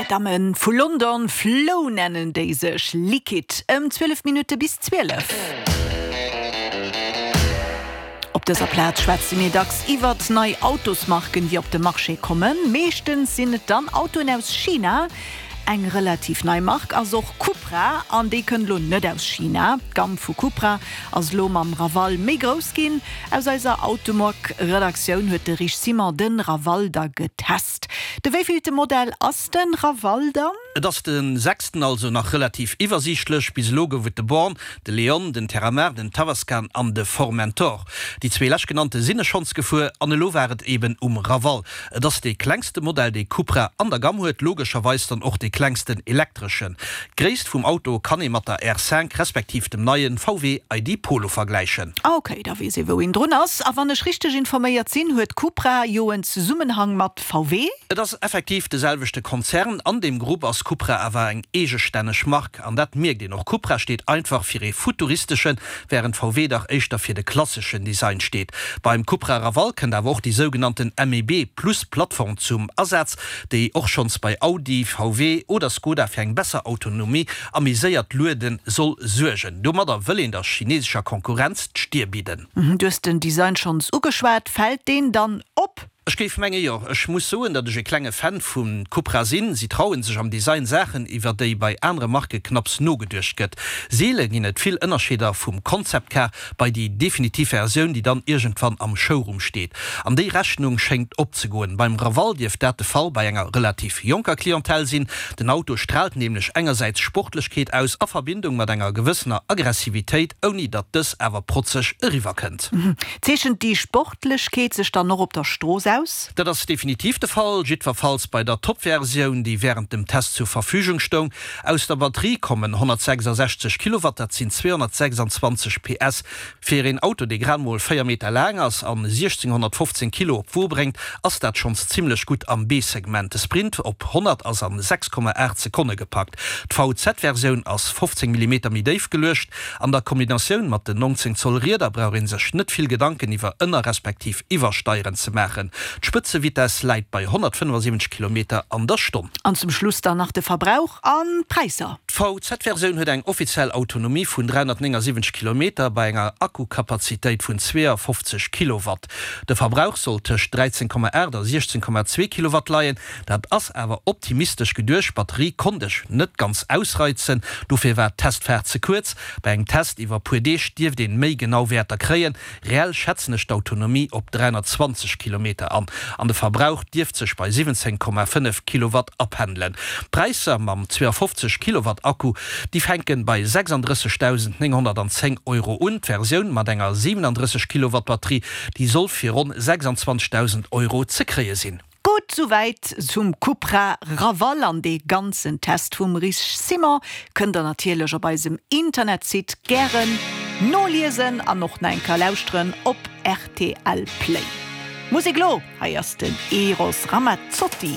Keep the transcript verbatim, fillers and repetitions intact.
Damme vu London, Flow nennen déi sech, Liquid, ëm zwielef Minutte bis zwielef. Op dëser Plaz schwätze mir dacks iwwert nei Autosmarken, déi op de Marché kommen. Meeschtens sinn et dann Autoen aus China. Eng relativ nei Mark ass och Cupra an déi kënnt lo net aus China. D'Gamm vu Cupra ass lo mam Raval méi grouss ginn. Aus eiser Automag-Redaktioun huet de Rich Simon de Raval da getest. De wéivillte Modell ass de Raval dann? Et ass de sechsten, also nach relativ iwwersiichtlech. Bis elo gouf et de Born, de Leon, den Terramar, den Tavascan an de Formentor. Déi zwee leschtgenannte sinn ech schonns gefuer an elo war et eben um Raval. Et ass dee klengste Modell, dee Cupra an der Gamm huet, logescherweis dann och dee klengsten elektreschen. D'Gréisst vum Auto kann ee mat der R cinq respektiv dem neie V W I D Polo vergläichen. Ok, da weess ee wou een drun ass. A wann ech richteg informéiert sinn, huet Cupra jo en Zesummenhang mat V W? Et ass effektiv de selwechte Konzern. An deem Grupp ass Cupra awer eng eegestänneg Mark. An dat mierkt een och. Cupra steet einfach fir ee futuristeschen, wärend V W dach éischter fir de klasseschen Design steet. Beim Cupra Raval kënnt awer och déi sougenannten M E B Plus Plattform zum Asaz, déi och schonns bei Audi, V W oder Skoda fir eng besser Autonomie a méi séiert Luede soll suergen. Domadder wëll een der chinesescher Konkurrenz d'Stier bidden. Du hues den Design schonns ugeschwat, fält deen dann op? Ech géif menge jo. Ech muss soen, datt ech e klenge Fan vu Cupra sinn. Si trauen sech am Design Saachen, iwwer déi bei anere Marke knapps nogeduecht gëtt. Seele ginn et vill Ënnerscheeder vum Concept Car bei déi definitiv Versioun, déi dann iergendwann am Showroom steet. An déi Rechnung schéngt opzegoen. Beim Raval dierft dat de Fall bei enger relativ jonker Clientèle sinn. Den Auto straalt nämlech engersäits Sportlechkeet aus a Verbindung mat enger gewëssener Aggressivitéit, ouni datt dës awer protzeg eriwwerkënnt. Zeechent déi Sportlechkeet sech dann och op der Strooss aus? Dat ass definitiv de Fall, jiddwerfalls bei der Top-Versioun, déi wärend dem Test zur Verfügung stoung. Aus der Batterie kommen honnertsechsasechzeg Kilowatt, dat sinn zweehonnertsechsanzwanzeg P S. Fir een Auto, dee grad mol véier Meter laang ass an siechzénghonnertfofzéng Kilo op d'Wo bréngt, ass dat schonns zimmlech gutt am B-Segment. De Sprint op honnert ass an sechs Komma aacht Sekonne gepackt. D'V Z-Versioun ass fofzéng Millimeter méi déif geluecht. An der Kombinatioun mat den nonzéng Zoll Rieder brauch ee sech net vill Gedanken iwwer Ënner respektiv Iwwersteieren ze maachen. D'Spëtzevitess läit bei honnertfënnefasiwwenzeg Kilometer an der Stonn. An zum Schluss dann nach de Verbrauch an d'Präisser. D'V Z-Versioun huet eng offiziell Autonomie vun dräihonnertnéngasiwwenzeg Kilometer bei enger Akkukapazitéit vun zweeafofzeg Kilowatt. De Verbrauch soll tëscht dräizéng Komma aacht a siechzéng Komma zwee Kilowatt leien. Dat ass awer optimistesch geduecht, d'Batterie konnt ech net ganz ausreizen, dofir war d'Testfaart ze kuerz. Bei engem Test iwwer puer Deeg dierft een méi genau Wäerter kréien. Reell schätzen ech d'Autonomie op dräihonnertzwanzeg Kilometer an, an de Verbrauch dierft sech bei siwwenzéng Komma fënnef Kilowatt apendelen. D'Präisser mam zweeafofzeg Kilowatt Akku, déi fänken bei sechsandrëssegdausendnénghonnertanzéng Euro un. D'Versioun mat enger siwenandrësseg Kilowatt Batterie, déi soll fir ronn sechsandzwanzegdausend Euro ze kréie sinn. Gutt, souwäit zum Cupra Raval an dee ganzen Test vum Rich Simon kënnt der natierlech op eisem Internetsite gären noliesen an och nach eng Kéier lauschteren op R T L Play. Musek lo, hei ass den Eros Ramazzotti.